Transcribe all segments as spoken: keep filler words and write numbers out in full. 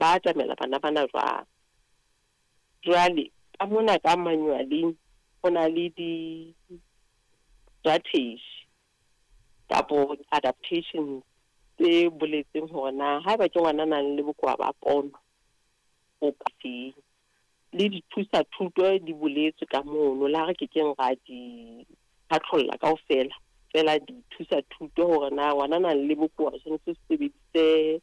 Ba atamela bana bana jwang. Jwale ka mona ka manual-eng ho na le di-strategy kapo adaptation tse boletseng hore na haeba ke ngwana a nang le bokowa ba pono o ka feng. Le dithusa thuto di boletswe ka mono, le ha re kekeng ra di phatlolla kaofela. Feela dithusa thuto hore na ngwana a nang le bokowa o tshwanetse o sebedise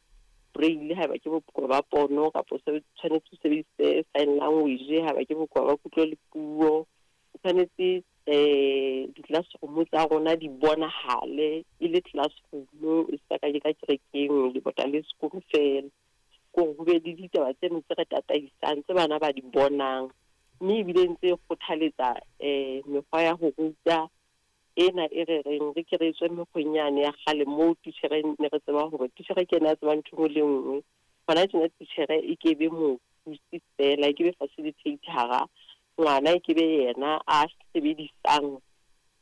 braille haeba ke bokowa ba pono, kapa o tshwanetse o sebedise sign language haeba ke bokowa ba kutlo le puo. O tshwanetse um di-classroom tsa rona di bonahale e le classroom, e se ka ke ka kerekeng lebota le sekolo feela. Kore ho be le ditaba tseno tse re tataisang tse bana ba di bonang, mme ebile ntse e kgothaletsa um mekgwa ya ho ruta ena e re reng re ke re tswe mekgweng yane ya kgale moo titjhere ne re tseba hore titjhere ke ena a tsebang ntho e nngwe le nngwe. Hona tjena titjhere e ke be mothusi feela, e ke be facilitator-a, ngwana e ke be yena a sebedisang,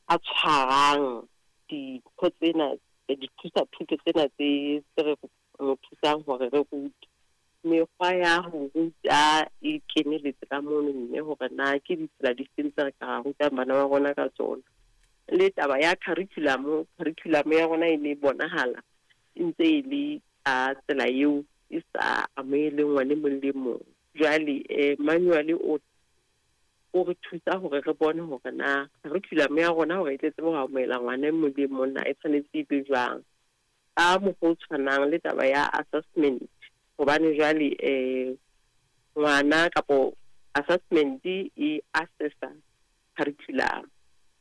a tshwarang dintho tsena, dithusa thuto tsena tse tse re mo thusang hore re rute. Mekgwa ya ho ruta e keneletse ka mono, mme hore na ke ditsela di feng tse re ka rutang bana ba rona ka tsona. Le taba ya curriculum, curriculum ya rona e ne bonahala e ntse e le ka tsela eo e sa amoheleng ngwana e mong le mong. Jwale um manual o o re thusa hore re bone hore na curriculum ya rona hore e tle tsebe ho amohela ngwana e mong le mong na e tshwanetse e be jwang. Ka mokgwa o tshwanang le taba ya assessment, hobane jwale um ngwana kapo assessment e assessa curriculum.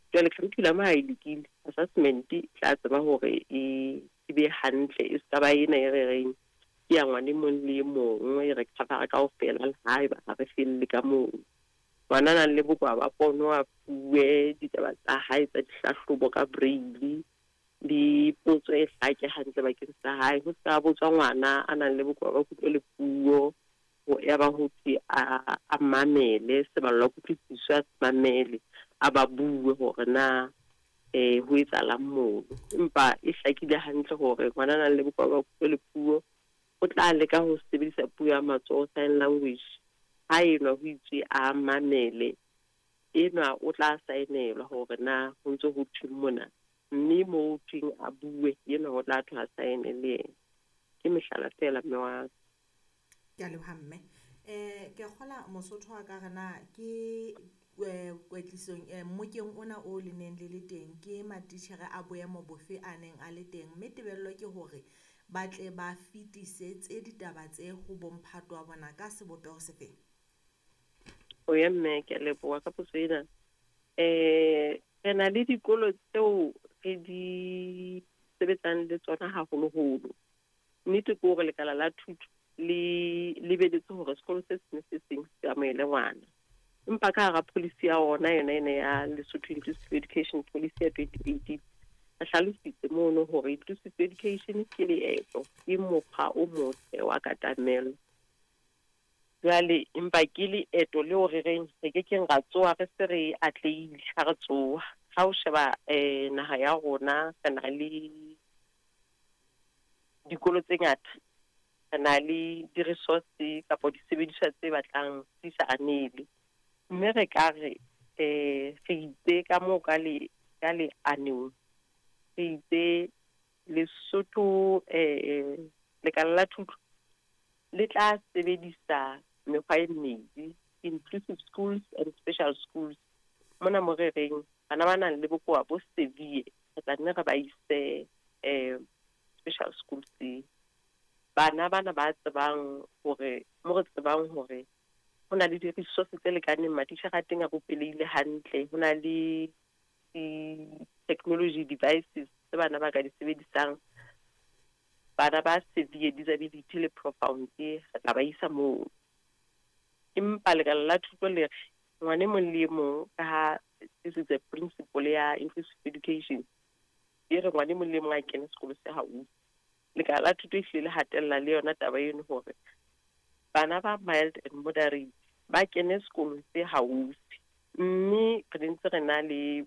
Jwale curriculum ha e lokile, assessment e tla tseba hore e e be hantle, e ska ba ena e re reng ke ya ngwana e mong le e mong, e re cover-a kaofela le haeba ha re felle ka moo. Ngwana a nang le bokowa ba pono a fuwe ditaba tsa hae tsa dihlahlobo ka braille, le potso e hlake hantle bakeng sa hae. Ho ska botswa ngwana a nang le bokowa ba kutlo le puo, ya ba ho thwe a a mamele seballwa kutlwisiso, a se mamele, a ba bue hore na eh ho etsahalang mono. Empa e hlakile hantle hore ngwana a nang le bokowa ba kutlo le puo o tla leka ho sebedisa puo ya matsoho, sign language. Ha enwa ho itswe a mamele, enwa o tla saenelwa hore na ho ntso ho thweng mona, mme moo ho thweng a bue, enwa ho tla thwe a saene le yena. Ke mehlala feela mme wa ka. Ke a leboha mme. Eh ke kgola Mosotho wa ka re na ke eh, kwetlisong eh, mmokeng ona o le neng le le teng ke matitjhere a boemo bofe a neng a le teng, mme tebello ke hore ba tle ba fetisetse ditaba tse ho bomphato wa bona ka sebopeho sefeng? O ya mme, ke a leboha ka potso ena. Eh re na le dikolo tseo re di sebetsang le tsona haholoholo. Nnete ke hore lekala la thuto le lebeletse hore sekolo se seng se seng se amohele ngwana. Empa ka hara policy ya ona yona ena ya Lesotho Inclusive Education Policy ya twenty eighteen, re hlalositse mono hore inclusive education ke leeto, ke mokgwa o motle wa katamelo. Jwale empa ke leeto leo re reng re kekeng ra tsoha re se re atlehile ha re tsoha. Ha o sheba eh naha ya rona, re na le dikolo tse ngata, re na le di-resource kapa disebediswa tse batlang di sa anele. Mme re ka re eh re itse ka moo ka le ka leanong, re itse Lesotho eh lekala la thuto le tla sebedisa mekgwa e mmedi, inclusive schools and special schools. Mona mo re reng bana ba nang le bokowa bo severe, re tla nne re ba ise eh special schools. Bana bana ba tsebang hore mo re tsebang hore ho na le di-resource tse lekaneng, matitjhere a teng a rupelehile hantle, ho na le di-technology devices tse bana ba ka di sebedisang. Bana ba severe disability le profound re tla ba isa moo. Empa lekala la thuto le re ngwana e mong le e mong, ka ha this is a principle ya inclusive education, e re ngwana e mong le e mong a kene sekolo se haufi. Lekala la thuto e hlile le hatella le yona taba eno hore bana ba mild and moderate ba kene sekolong se haufi. Mme re ntse re na le